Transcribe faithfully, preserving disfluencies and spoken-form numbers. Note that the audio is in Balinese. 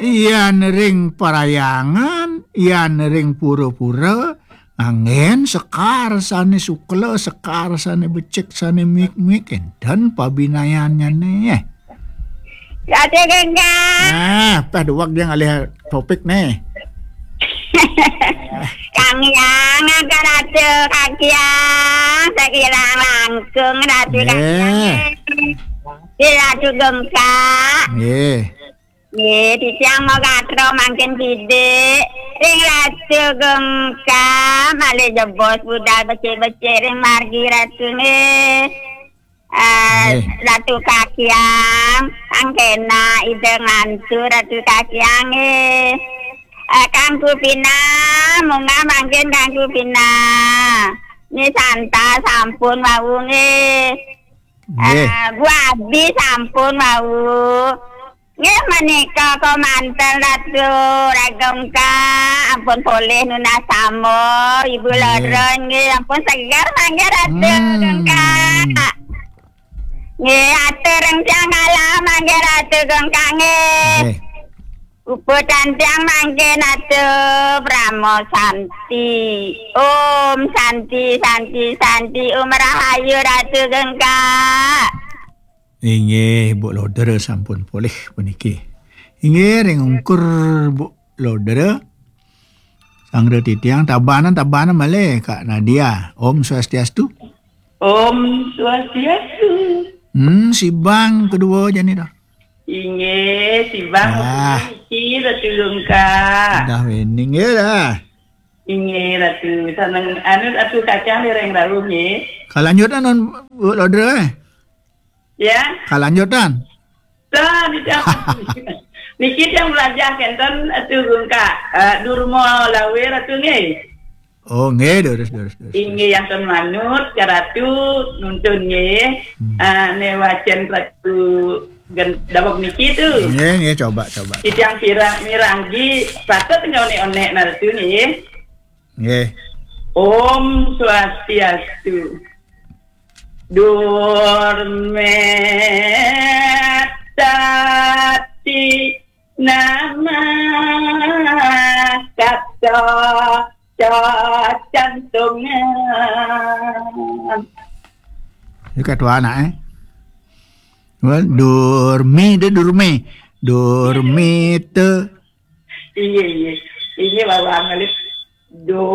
Yan ring parhyangan, yan ring pura-pura, anggén sekar sané sukla, sekar sané becik, sané mik-mik, énten pabinayannyané. Ratu Gengga. Nah, tah duweg dia ngalih topik né. Kang Hyang, Ratu Kakyang, sakirang langkung Ratu Kakyang. Nggih. Di Ratu Gengga. Nggih. Nggih, titiang magatra mangkin kidik ring Ratu Gengga, malih jebos budal becik-becik ring margi Ratu nggih. Eh, Nggih. Ratu Kakyang, Kang Kena, Ida Ngantu, Ratu Kakyang nggih. Eh, Kang Kupina, munggah mangkin Kang Kupina. Ni Santa sampun wau nggih. Nggih. Eh, Bu Abi sampun wau. Nggih, menika kemanten Ratu Gengga, ampun polih nunas tama, Ibu Nggih. Loro nggih, ampun seger mangke Ratu Hmm. Gengga. Nggih, atur ring tiang kalah mangke Ratu Gengga nggih. Nggih. Puputang tiang mangke Ratu Parama Santi. Om Santi, Santi, Santi, Om Rahayu Ratu Gengga. Inggih, Bu Loder sampun polih puniki. Inggih, ring ungkur Bu Loder. Sanggra titiang tabanan, tabanan malih, Kak Nadia. Om Swastiastu. Om Swastiastu. Hmm, sibang kedua jani dah. Inggih, sibang Ah. Niki Ratu Gengga. Dah wening ya dah. Inggih, Ratu. Saneng anu Ratu Kakyang dereng rauh nggih. Kalanjutan non Bu Loder eh. Ya. Kalanjutan. Lah, niki, niki tiang belajar kenten Ratu Gengga, eh, Durma Lawe Ratu nggih. Oh, nggih, durus, durus, durus. Inggih, yang ten manut, ka Ratu, nuntun nggih. Hmm. Eh, né wacén Ratu gen-, daweg niki tu. Nggih, nggih, coba, coba. Titiang pirang, mirangi, patut nggih onék-onék nah Ratu nggih. Nggih. Om Swastiastu. Durmé tati nama kata cacantungan. Ini ketua anak, eh. Wal, durmi, dia durmi. Durmi te. Iya, iya. Ini bawaan ngalih.